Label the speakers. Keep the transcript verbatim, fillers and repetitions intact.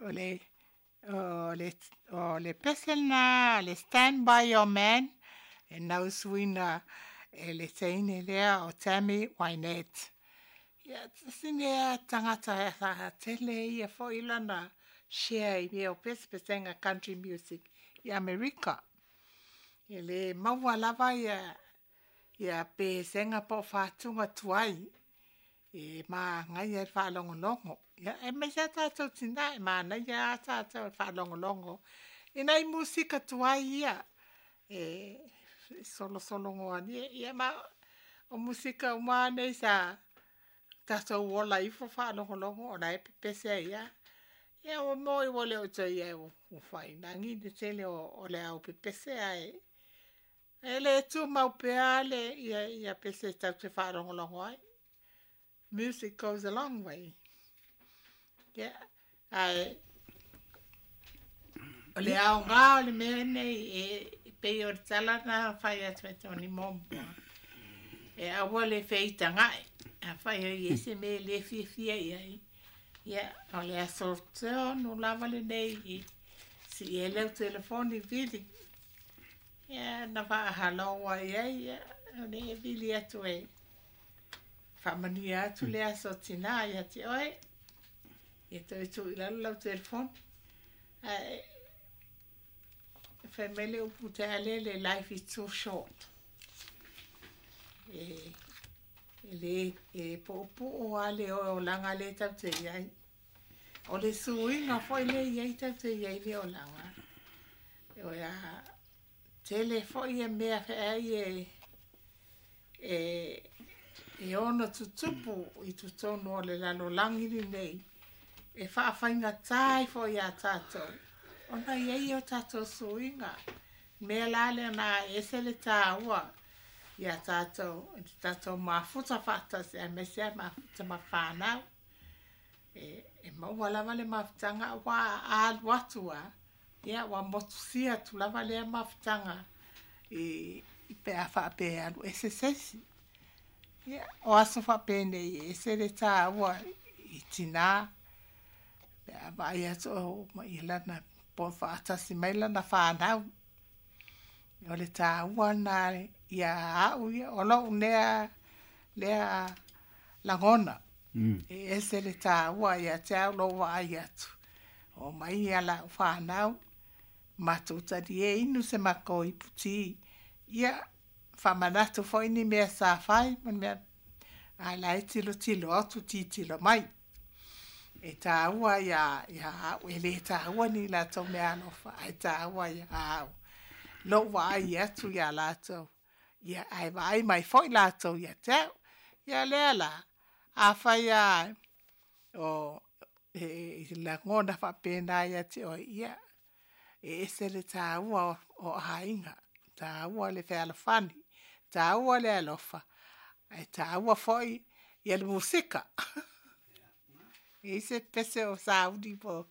Speaker 1: O le o le o le pese lena le Stand By Your Man e nausuina e le teine lea o Tammy Wynette. Ia tasi lea tagata sa tele ia foi lana share i mea o pesepesega country music i Amerika. E le maua lava ia ia pesega po o fatuga tuai e magaia le faalogologo. Ia aemaise lava tatou tina e manaia lava tatou i le faalogologo i nai musika tuai ia e solosologoa ia ma o musika uma lava nei sa tatou ola ifo faalogologo o la e pepese ai lava. Ia ua moi ua le o toe i ai ua faainagi le tele o le au pepese ae e le tumau pea le ia ia pese tatou te faalogologo ai. Music goes a long way. Ia, ae o le aoga o le mea lenei e pei o le tala na fai atu e Tony muamua, e aua le feitaga'i. Afai o i ai se mea e le fiafia i ai, ia o le aso tonu lava lenei i sii ai lau telefoni vili. Ia na faahalo ai ai, ia o le vili atu e faamanuia atu le aso tina ia te oe. Ia toe tuu i lalo lau telefoni. Ae fai mai le upu taeale, "Life is too short." E e le e puupuu lava le olaga lea tatou te i ai. O le suiga foi lea e i ai tatou te i ai le olaga. O le a tele foi ia mea feai e e e ono tutupu i totonu o le lalolagi lenei e faafaigata ai foi iā tatou ona i ai o tatou suiga. Mea la lea na ese le taua ia tatou i tatou mafuta faatasi aemaise lava mafuta ma fanau. E, e maua lava le mafutaga aua a alu atu lava, ia ua motusia atu lava lea mafutaga i pe a faapea e alu ese se isi. Ia, o aso faapenei e ese le taua i tina pe a vaai atu o mai lana po faatasi mai lana fanau. O le taua lena ia au ia, o lou lea lea lagona. E ese le taua ia te au lou vaai atu. O mai ia lau fanau, matou talie inu se matou iputi. Ia, faamanatu foi ni mea sa fai ma ni mea ae la e tilotilo atu tilotilo mai. E taua ia ia au, e le taua ni latou meaalofa, ae taua ia au. Lou vaai atu ia latou. Ia ae vaai mai foi latou ia te au. Ia lea la, afai lava o e lagona faapena ia te oe, ia e ese le taua o aiga, taua le fealofani, taua le alofa, ae taua foi ia le musika. E i ai se pese o sauni po